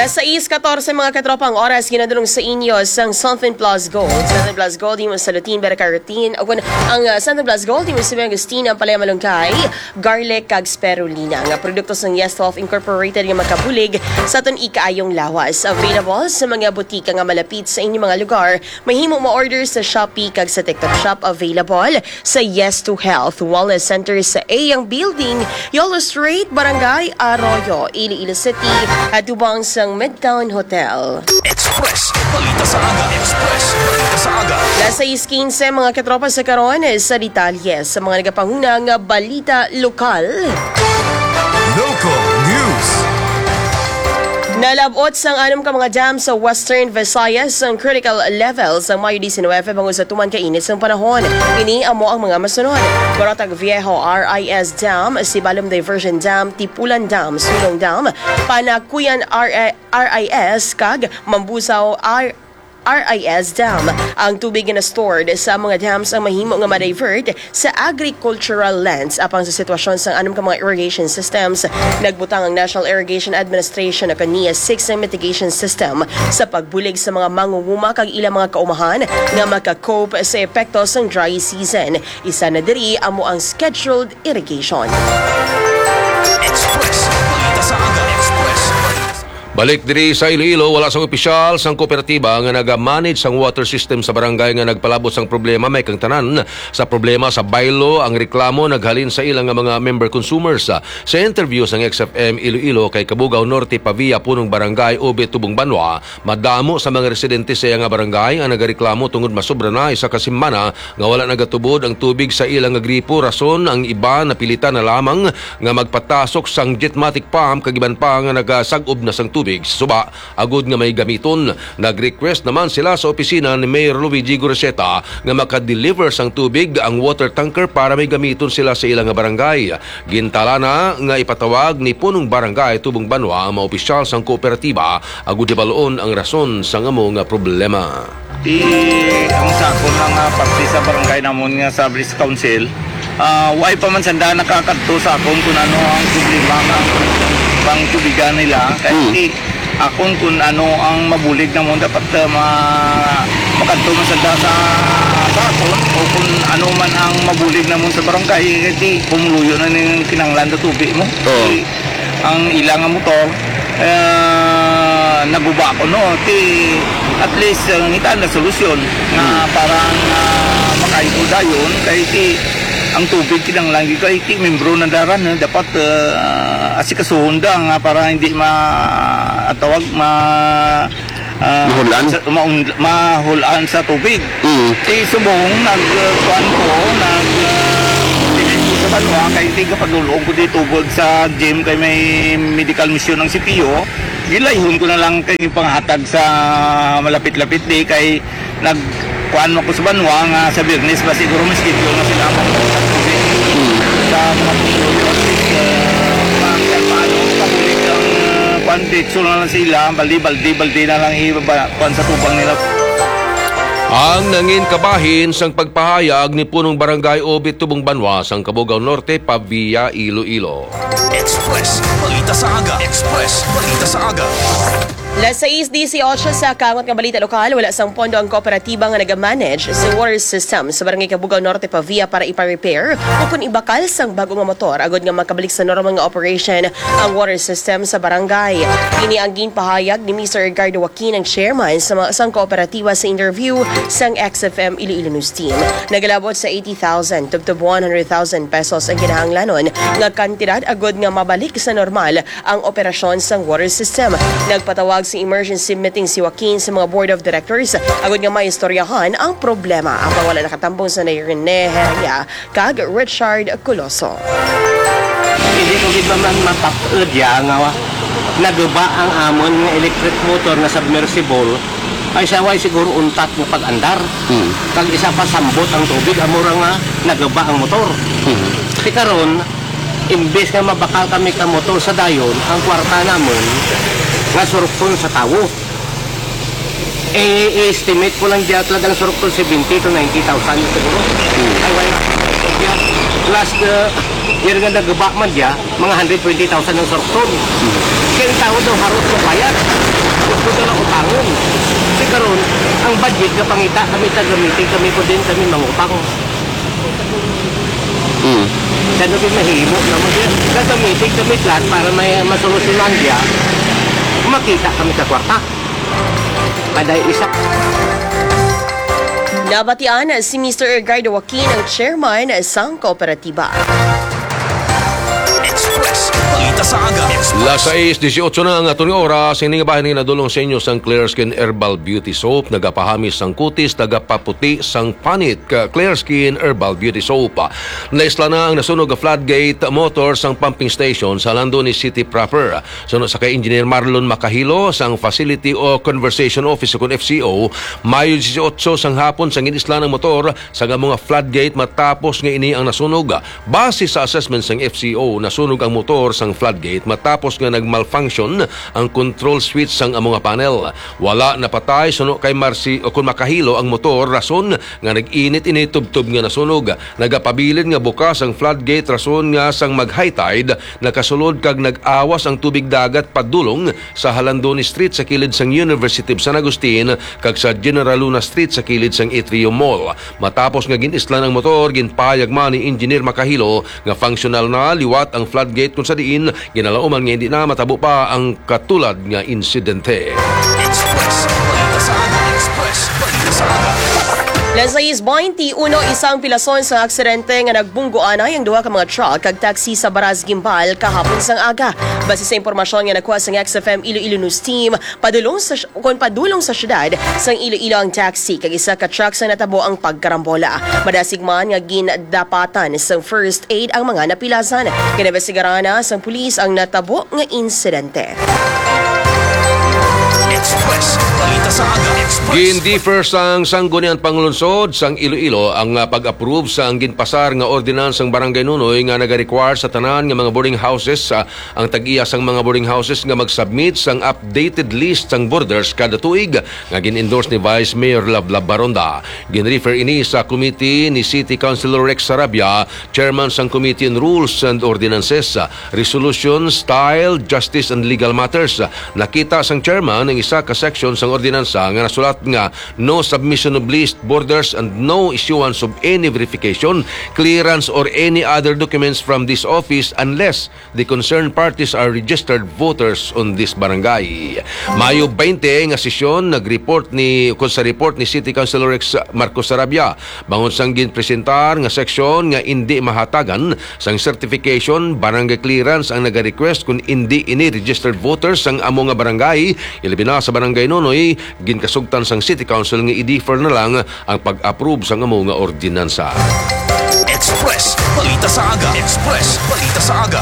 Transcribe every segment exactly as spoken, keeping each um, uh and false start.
Alas sais katorse, mga katropa, ang oras, ginadulong sa inyo sang Santon Plus Gold. Santon Plus Gold, imo sa Lutin, Baracarutin. O kun ang, ah, Santon Plus Gold, imo sa Agustin, ang Palaya Malunggay, Garlic, kag Spirulina. Nga produkto sang Yes Health Incorporated nga makabulig sa aton ikaayong lawas. Available sa mga butika nga malapit sa inyong mga lugar. Mahimo ma-order sa Shopee kag sa TikTok Shop. Available sa Yes to Health Wellness Center sa Eyang Building, Yolo Street, Barangay Arroyo, Iloilo City, atubang sang Midtown Hotel. Express, balita sa aga. Express, balita sa aga. Alas sais quince, mga katropa, sa karon sa detalye sa mga nagapanguna nga balita lokal. Local news. Nalab-ot sang anom ka mga dam sa Western Visayas ang critical level sang Mayo diecinuebe bangod sa tuman ka init sang panahon. Ini amo ang mga masunod: Barotag Viejo R I S Dam, Sibalom Diversion Dam, Tipulan Dam, Sulong Dam, Panakuyan R I S, kag Mambusaw R I S Dam. Ang tubig nga na-stored sa mga dams ang mahimo nga ma-divert sa agricultural lands. Apang sa sitwasyon sang anom ka mga irrigation systems, nagbutang ang National Irrigation Administration o kaniya six nga mitigation system sa pagbulig sa mga mangunguma kag ilang mga kaumahan nga maka-cope sa epekto sang dry season. Isa na diri amo ang scheduled irrigation. Express. Balita sa aga. Express. Balik diri sa Iloilo, wala sang opisyal sang kooperatiba nga naga-manage sang water system sa barangay nga nagpalabot sang problema. May kang tanan sa problema sa baylo, ang reklamo naghalin sa ila nga mga member consumers. Sa interview sang X F M Iloilo kay Cabugao Norte Pavia, punong barangay Obe Tubong Banwa, madamo sa mga residente sa iya nga barangay ang nagareklamo tungod masobra na isa ka semana nga wala nagatubod ang tubig sa ila nga gripo, rason ang iba napilitan na lamang nga magpatasok sang jetmatic pump kag iban pa nga nagasag-ob na sang tubig sa suba agud nga may gamiton. Nag-request naman sila sa opisina ni Mayor Luigi Gurrieta nga maka-deliver sang tubig ang water tanker para may gamiton sila sa ila nga barangay. Gintalana nga ipatawag ni punong barangay Tubong Banwa ang mga opisyal sang kooperatiba agud hibal-on ang rason sang amo nga problema. Ti, ang sa akon nga parte sa barangay namon nga sa Village Council, ah, way pa man sanda nakakadto sa akon kung ano ang problema nga pangtubigan nila. Kay Hmm. ti, akon kung ano ang mabulig namon, dapat, ah, ma-, makadto man sanda sa, sa akon, o kung ano man ang mabulig namon sa barangay, kay ti pumuluyo na ning kinahanglan sa tubig mo. Oo. Ti, ang ila nga motor, eh, naguba ko, no? Ti, at least, uh, ngita na solusyon nga Hmm. para nga makaipod dayon, kay ti ang tubig kinahanglan gyud kay ti membro na daran, eh, dapat, uh, asikasuhon da nga para hindi ma-, ang tawag, ma-, ah, Mahul-an? sa, maun-, mahul-an sa tubig. Mm. Ti subong nag, uh, kuan ko, nag, uh, tingin ko sa banwa, kay ti gapadul-ong ko di tubod sa gym, kay may medical mission ang C P O. Gilayhon ko na lang kay panghatag sa malapit-lapit di, kay nag, kuan mo ko sa banwa nga sa Biyernes ba siguro may schedule na sila ang pagbuhat sa tubig. Mm. Sa mga pumuluyo, at least, uh, ma-, paano, pabulig ang, uh, kuan, diretso na lang sila, baldi, baldi, baldi na lang ibaba, kuan sa tubang nila. Ang nangin kabahin sang pagpahayag ni Punong Barangay Obit Tubong Banwa sang Cabugao Norte, Pavia, Iloilo. Express, balita sa aga. Express, balita sa aga. Las sais dieciocho sa kaangot nga balita lokal, wala sang pondo ang kooperatiba nga nagamanage sa water system sa Barangay Cabugao Norte, Pavia para ipa-repair o kon ibakal sang bago nga motor agud nga makabalik sa normal nga operation ang water system sa barangay. Ini ang ginpahayag ni Mister Ricardo Joaquin, ang chairman sa ma-, sang kooperatiba, sa interview sang X F M Iloilo News Team. Nagalabot sa eighty thousand tubtob one hundred thousand pesos ang kinahanglanon nga kantidad agud nga mabalik sa normal ang operasyon sang water system. Nagpatawag sa emergency meeting si Joaquin sa mga board of directors agud nga maistoryahan ang problema. Ang wala nakatambong sa Rene Heria kag Richard Coloso. Hindi ko gid man mapapud ya nga naguba ang amon nga electric motor nga submersible, ay siya way siguro untat nga pag-andar. Hmm. Kag isa pa, sambot ang tubig, amo ra nga naguba ang motor. Hmm. Ti karon, imbes nga mabakal kami ka motor sa dayon, ang kwarta namon nga surukton sa tawo. Eh, i-estimate ko lang diya talagang surukton seventy to ninety thousand siguro. Hmm. Ay, wala. Yeah. Plus, uh, yan nga naguba man diya, mga hundred twenty thousand ang surukton. Hmm. Kaya ang tawo daw harot sa bayad. Si karon, ang budget nga pangita kami, taga-meeting kami, kung din kami mangutang. Mm. Kano di mahimo na mag gagamitin kami plan para may masolusyonan niya, makita kami sa kwarta. Paday isa. Nabatian si Mister Edgardo Joaquin, ang chairman sang kooperatiba. Express. Balita sa aga. Express. Las sais dieciocho na ang aton nga oras. Ini nga bahin nga nadulong sa inyo sang Clear Skin Herbal Beauty Soap. Nagapahamis sang kutis, nagapaputi sang panit. Ka Clear Skin Herbal Beauty Soap. Naisla na ang nasunog nga floodgate motor sang pumping station sa Halandoni City proper. Suno sa kay Engineer Marlon Macahilo sang Facility o Conservation Office o kon F C O, Mayo dieciocho sang hapon sang ginislan ang motor sang amo nga floodgate matapos nga ini ang nasunog. Base sa assessment sang F C O, nasunog ang motor sang floodgate matapos nga nag-malfunction ang control switch sang amo nga panel. Wala napatay suno kay Marcy o kon Macahilo ang motor, rason nga nag-init ini tubtob nga nasunog. Nagapabilin nga bukas ang floodgate rason nga sang mag-high tide, nakasulod kag nag-awas ang tubig dagat padulong sa Halandoni Street sa kilid sang University of San Agustin kag sa General Luna Street sa kilid sang Atrium Mall. Matapos nga gin-islan ang motor, ginpahayag man ni Engineer Macahilo nga functional na liwat ang floodgate, kung sa diin ginalauman nga hindi na matabo pa ang katulad nga insidente. Express. Balita sa aga. Express. Balita sa aga. Las sais bainti uno, isang pilason sa aksidente nga nagbunggoanay ang duha ka mga truck kag taxi sa Baras Gimbal kahapon sang aga. Base sa impormasyon nga nakuha sang X F M Iloilo News Team, padulong sa kon padulong sa siyudad sang Iloilo ang taxi kag isa ka truck sa natabo ang pagkarambola. Madasig man nga gindapatan sang first aid ang mga napilasan. Ginabestigaran na sang pulis ang natabo nga insidente. Express. Balita sa aga. Express. Gin-defer sang Sangguniang Panglungsod sang Iloilo ang, ah, pag-approve sang ginpasar nga ordinance sang Barangay Nunoy nga nagarequire sa tanan nga mga boarding houses, ah, ang tag-iya sang mga boarding houses nga mag-submit sang updated list sang borders kada tuig, nga gin-endorse ni Vice Mayor Lablab Baronda. Gin-refer ini sa committee ni City Councilor Rex Sarabia, chairman sang Committee on Rules and Ordinances, Resolution, Style, Justice and Legal Matters. Nakita sang chairman ang isa ka section sang ordinansa nga nasulat nga no submission of list, borders, and no issuance of any verification, clearance, or any other documents from this office unless the concerned parties are registered voters on this barangay. Mayo twenty nga sesyon, nag-report ni, kon sa report ni City Councilor Rex Marcos Sarabia, bangon sang ginpresentar nga seksyon nga indi mahatagan sang certification, barangay clearance ang nagarequest kon indi ini registered voters sang amo nga barangay, ilabi na sa Barangay Nunoy, ginkasugtan sang City Council nga i-defer na lang ang pag-approve sang amo nga ordinansa. Express. Balita sa aga. Express. Balita sa aga.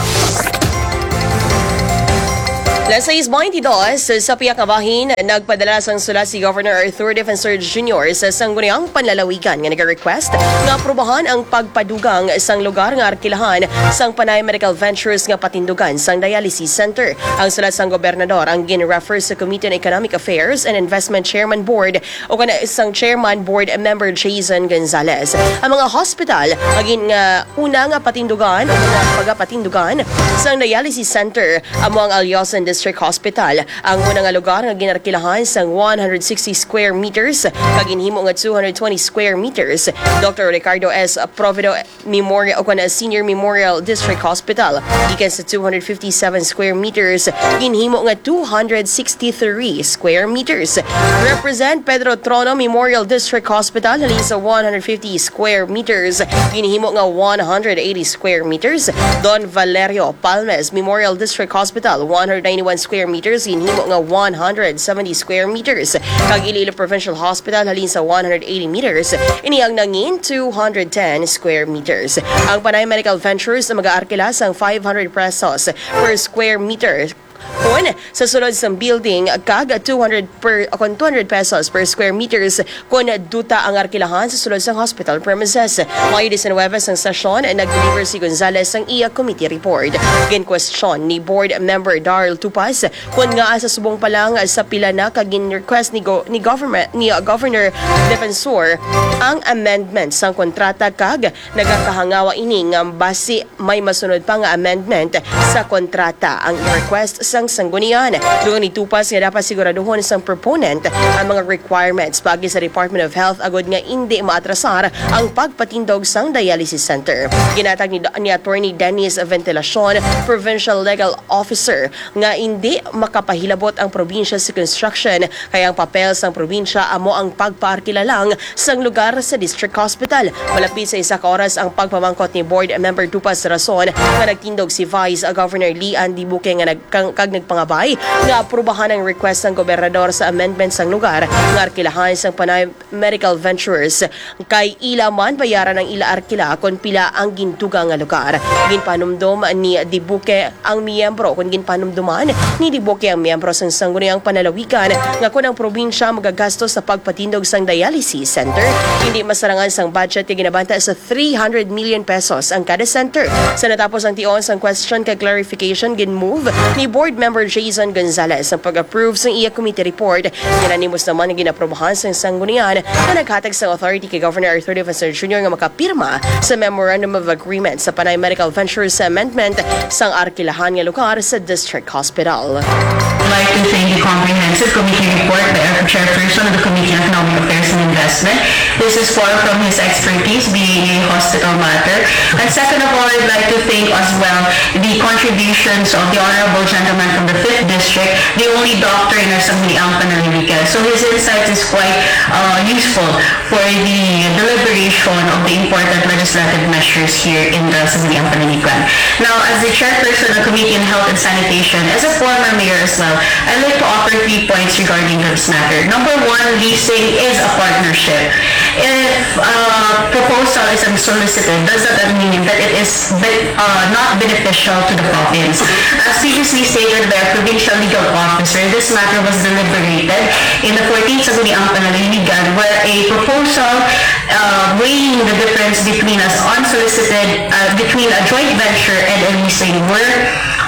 Las sais bainti dos, sa pihak nga bahin, nagpadala sang sulat si Governor Arthur Defensor Junior sa Sangguniang Panlalawigan nga nagarequest nga aprobahan ang pagpadugang sang lugar nga arkilahan sang Panay Medical Ventures nga patindugan sang dialysis center. Ang sulat sang gobernador ang gin-refer sa Committee on Economic Affairs and Investment Chairman Board o kana sang Chairman Board Member Jason Gonzalez. Ang mga hospital nga gin-, nga una nga patindugan o mga pagapatindugan sang dialysis center amo ang Alyosan District Hospital. Ang una nga lugar nga ginarkilahan sang one hundred sixty square meters kag ginhimo nga two hundred twenty square meters. Doctor Ricardo S. Provido Memorial o kana Senior Memorial District Hospital, gikan sa two hundred fifty-seven square meters, ginhimo nga two hundred sixty-three square meters. Represent Pedro Trono Memorial District Hospital, halin sa one hundred fifty square meters, ginhimo nga one hundred eighty square meters. Don Valerio Palmes Memorial District Hospital, one hundred ninety-one square meters, ginhimo nga one hundred seventy square meters. Kag Iloilo Provincial Hospital, halin sa one hundred eighty meters, ini ang nangin two hundred ten square meters. Ang Panay Medical Ventures magaarkila sang five hundred pesos per square meter kon sa sulod sang building kag two hundred per, kon two hundred pesos per square meters kon duta ang arkilahan sa sulod sang hospital premises. Mayo diecinuebe sang sesyon, nag-deliver si Gonzalez sang iya committee report. Ginkwestiyon ni Board Member Darl Tupas kon ngaa sa subong pa lang sa pila na ka gin-request ni go-, ni government, ni, uh, Governor Defensor ang amendment sang kontrata kag nagakahangawa ini nga basi may masunod pa nga amendment sa kontrata. Ang request sang sanggunian. Dugang ni Tupas nga dapat siguraduhon sang proponent ang mga requirements paagi sa Department of Health agud nga indi maatrasar ang pagpatindog sang dialysis center. Ginatag ni, ni Attorney Dennis Ventilacion, Provincial Legal Officer, nga indi makapahilabot ang probinsya sa construction, kay ang papel sang probinsya amo ang pagpaarkila lang sang lugar sa District Hospital. Malapit sa isa ka oras ang pagpamangkot ni Board Member Tupas rason nga nagtindog si Vice Governor Leanne Dibuque nga nag-, kang, kag nagpangabay nga aprubahan ang request sang gobernador sa amendment sang lugar nga arkilahan sang Panay Medical Ventures, kay ila man bayaran ang ila arkila kon pila ang gindugang nga lugar. Ginpanumdom ni Dibuque ang miyembro, kon ginpanumduman ni Dibuque ang miyembro sang Sangguniang Panalawigan nga kon ang probinsya magagasto sa pagpatindog sang dialysis center, hindi masarangan sang budget nga ginabanta sa three hundred million pesos ang kada center. Sa natapos ang tion sang question kag clarification, ginmove ni Board Member Jason Gonzalez ang pag-approve sang iya committee report. Unanimous naman ang ginaprobahan sang sanggunian nga naghatag sang authority kay Governor Arthur Defensor Junior nga makapirma sa Memorandum of Agreement sa Panay Medical Ventures Amendment sang arkilahan nga lugar sa District Hospital. I'd like to thank the comprehensive committee report by our chairperson of the Committee on Economic Affairs and Investment. This is far from his expertise, being a hospital matter. And second of all, I'd like to thank as well the contributions of the honorable gentleman from the fifth district, the only doctor in our Sangguniang Panaliligan. So his insights is quite uh, useful for the deliberation of the important legislative measures here in the Sangguniang Panaliligan. Now, as the chairperson of the Committee on Health and Sanitation, as a former mayor as well, I'd like to offer three points regarding this matter. Number one, leasing is a partnership. If uh, proposal is unsolicited, does that mean that it is be- uh, not beneficial to the province? As previously stated by our provincial legal officer, this matter was deliberated in the fourteenth Sangguniang Panaliligan, where a proposal uh, weighing the difference between an unsolicited, uh, between a joint venture and a leasing were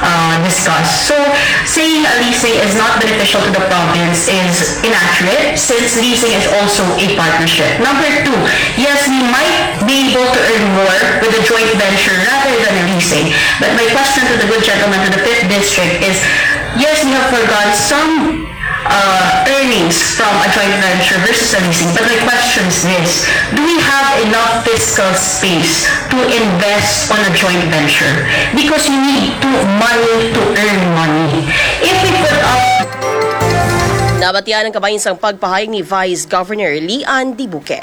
uh, discussed. So, saying a leasing is not beneficial to the province is inaccurate, since leasing is also a partnership. Number two, yes, we might be able to earn more with a joint venture rather than a leasing. But my question to the good gentleman to the fifth district is, yes, we have forgone some uh, earnings from a joint venture versus a leasing. But my question is this, do we have enough fiscal space to invest on a joint venture? Because you need to money to earn money. If we put up Nabatian ang kabahin sang pagpahayag ni Vice Governor Leanne Dibuque.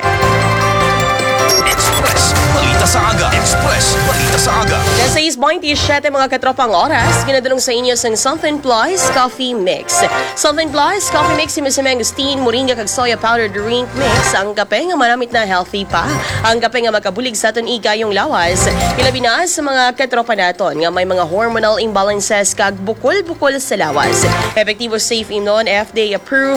Express Balita sa Aga. Express Balita sa Aga. Alas sais baynte siyete, mga katropa, ang oras. Ginadulong sa inyo sang Something Plus Coffee Mix. Something Plus Coffee Mix, himo si Mangosteen, moringa kag soya powder drink mix. Ang kape nga manamit na healthy pa. Ang kape nga makabulig sa aton igayong lawas. Ilabi na sa mga katropa naton nga may mga hormonal imbalances kag bukol-bukol sa lawas. Epektibo, safe imnon, F D A approved.